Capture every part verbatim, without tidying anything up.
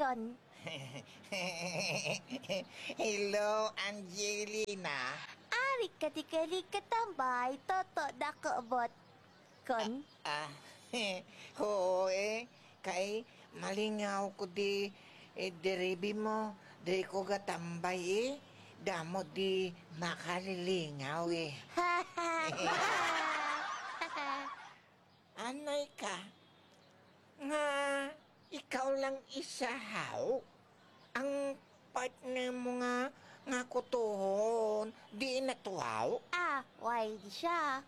Kon. Hello, Angelina. Ari ka di kay katambay, Toto, dako bot. Kon. Ah, oo eh. Kay malingaw ko di, eh, diribi mo. Diri ko gatambay eh. Damo di makalilingaw eh. Anay ka nga ikaw lang isa haw ang partner mo nga, nga kutohon, di natuhaw? Ah, why di siya?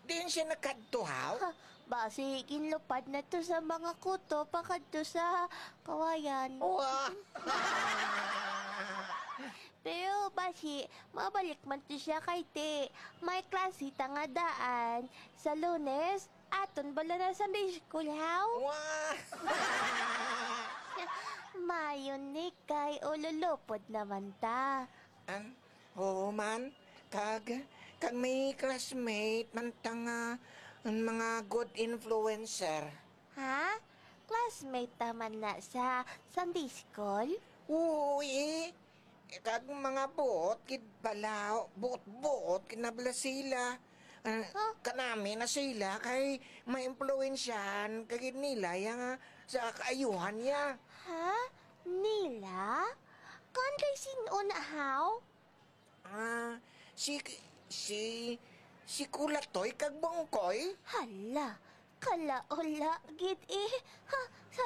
Diin siya nakadto haw? Ha, basi ginlupad na to sa mga kuto pakadto sa kawayan. Wa! Pero basi, mabalik man to siya kay ti may klase ta nga daan sa Lunes. Aton bala na Sunday school, haw? Wa! Mayon ni kay ululupod naman ta. An, oo man, kag, kag may classmate man ta nga mga good influencer. Ha? Classmate ta man na sa Sunday school? Oo, eh. Kag mga buot gid bala, buot-buot gid na bala sila. Ah, Huh? Kanami na sila kay maimpluwensyahan ka gid nila ya nga sa kaayuhan niya. Ha? Nila? Kon kay sin-o na, haw? Ah, si, si, si Kulatoy kag Bongkoy? Hala, kalaula gid eh. Ha, sa